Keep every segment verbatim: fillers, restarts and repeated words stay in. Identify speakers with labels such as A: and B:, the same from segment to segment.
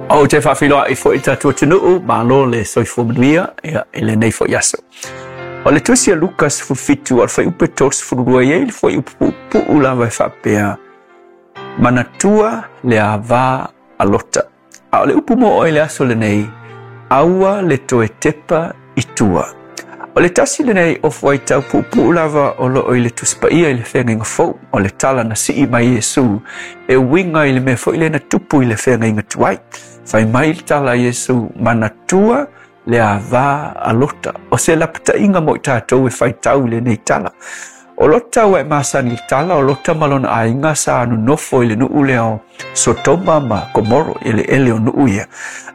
A: Ou te faafeiloai foi i tatou atunuu, malo le soifua manuia ia i lenei foi aso. O le tusi a Luka sefulufitu o le fuaiupu tolusefululua e i ai le fuaiupu puupuu lava e faapea, manatua le avā a Lota. A o le upu mo oe i le aso lenei, aua le toe tepa i tua. O le tasi lenei o fuaitau puupuu lava o loo i le Tusi Paia i le Feagaiga Fou, o le tala na sii mai Iesu e uiga i le mea foi lea na tupu i le feagaiga tuai. Fai mai le tala a Iesu, manatua le avā a Lota. O se lapataiga mo i tatou e faitau i lenei tala. O Lota ua e masani i le tala, o Lota ma lona aiga sa nonofo i le nuu lea o Sotoma ma Komoro, eleele o nuu ia.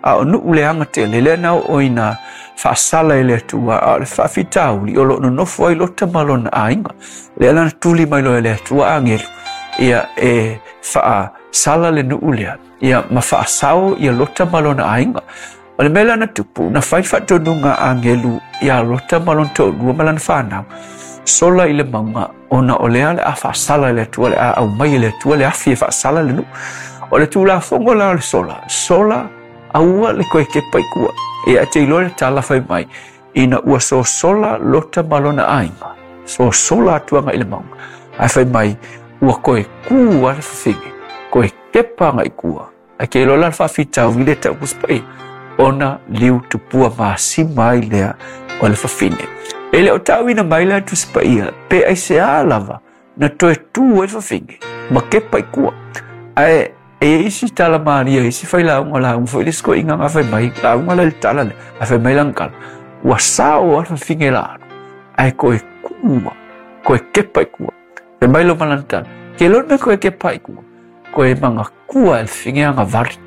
A: A o nuu leaga tele, lea na oo ina faasala e le Atua, a o le faafitauli o loo nonofo ai Lota ma lona aiga. Lea la na tuli mai loa e le Atua agelu, ia e faasala le nuu lea, ia ma faasao ia Lota ma lona aiga. O le mea lea na tupu, na fai faatonuga a agelu ia Lota ma lona toalua ma lana fanau, sola i le mauga, ona o lea le a faasala e le Atua, le a aumai e le Atua le afi e faasala le nuu. O le tulafono la o le sola, sola aua le koe kepa i tua. Ia e te iloa le tala fai mai, ina ua sosola Lota ma lona aiga, sosola atu agai i le mauga. Ae fai mai, ua koe ku a le fafine, koe kepa agai i tua. Ae ke iloa la le faafitauli le tau Tusi Paia, ona liu tupua masima ai lea o le fafine. E le o tauina mai la Tusi Paia, pe aisea lava na toe tu ai le fafine, ma kepa i tua. Ae e i ai isi tala malia, isi failauga lauga foi le isi koiga nga fai mai, lauga la i le tala lea, ae fai mai lana tala, ua sao lava le fafine la alu, ae koe kua, koe kepa i tua. Fai mai lo ma lana tala, ke loa le mea koe kepa i tua, koe magakua e le fafine aga vari,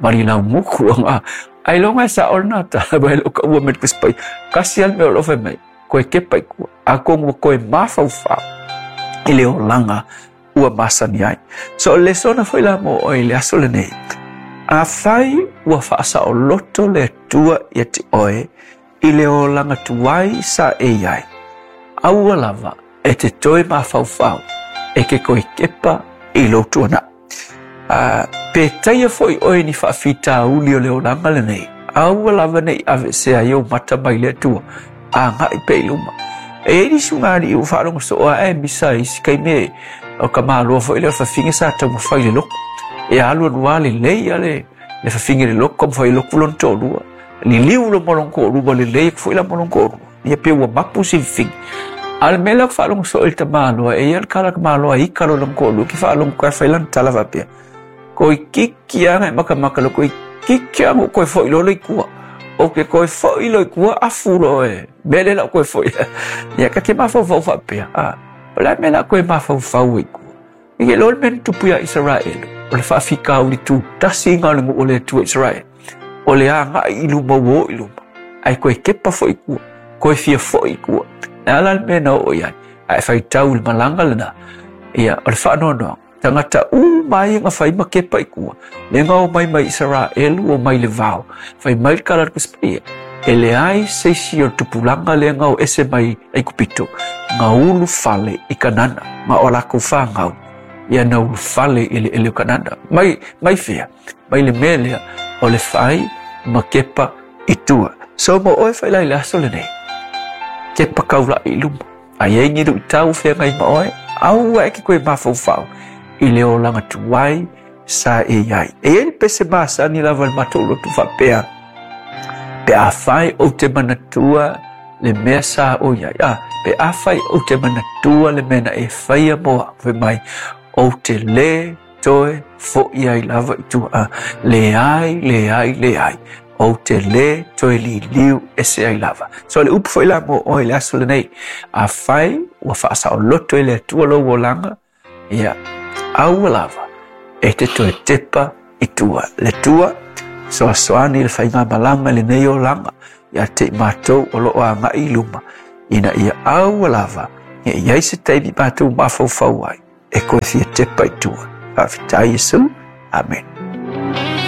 A: vari laumuku aga, ailoga e sao lena tala, mai le o ka ua me le Tusi Paia, kasi lava le mea o lo o fai mai, koe kepa i tua, atonu ua koe mafaufau i le olaga ua masani ai. So o le lesona foi la mo oe i le aso lenei, afai ua faasaoloto le Atua ia te oe i le olaga tuai sa e i ai, aua lava e te toe mafaufau e ke koe kepa i lou tuanai. A pe taia foi oe ni faafitauli o le olaga lenei, aua lava nei aveesea ai ou mata mai le Atua, agai pea i luma. E i ai nisi ugalii ua faalogo soo ae misa i isi taimi o ka maloa foi lea o le fafine sa taumafai i le lotu. E alu alu lava lelei a le le fafine i le lotu, taumafai i le lotu lona toalua. Liliu loa ma lona toalua, lelei atu foi la ma lona toalua. Ia pei ua mapu si fafine. A o le mea lea ou te faalogo soo i le tamaloa, e i ai le tala a le tamaloa e ika loa lona toalua, ke faalogo atu ai fai lana tala faapea, Toeitiiti lava na e matamata loa, toeitiiti lava na ou toe foi loa lea i tua. Ou te toe foi loa i tua, afu loa e mea lea la ou toe foi. Ia ta te mafaufau faapea, a, o le a le mea la toe mafaufau ai i tua? I ke loa le mea na tupu iā Isaraelu, o le faafitauli tutasi ina o le nuu o le Atua Isaraelu, o le agai i luma ua o i luma, ae toe kepa foi i tua, toe fia foi i tua. Le a la le mea na oo i ai? A e faitau i le malaga lena, ia, o le faanoanoaga, tagata uma ia na fai ma kepa i tua, lea na omai mai Isaraelu, omai i le vao, fai mai le tala a le Tusi Paia, e leai se isi o le tupulaga lea na o ese mai Aikupito, na ulufale i Kanana, ma o lakou fanau ia na ulufale i eleele o Kanana. Mai, mai fea? Mai le mea lea o le fai ma kepa i tua. So mo oe fai la i le aso lenei, kepa kaula'i i luma. A i ai ni luitau feagai ma oe, aua e ke koe mafaufau i le olaga tuai sa e i ai. E i ai le pese masani lava i le matou lotu faapea, pe afai ou te manatua le mea sa o i ai, a, pe afai ou te manatua le mea na e faia mo au, fai mai, ou te lē toe foʻi ai lava i tua, a, leai, leai, leai, ou te lē toe liliu ese ai lava. So o le upu foi la mo oe i le aso lenei, afai ua faasaoloto e le Atua lou olaga, ia, aua lava e te toe tepa i tua. Le Atua, soasoani le faigamalaga i lenei olaga ia te i matou o loo agai i luma, ina ia aua lava ne i ai se taimi matou mafaufau ai e koe fia tepa i tua. Faafetai Iesu. Amen.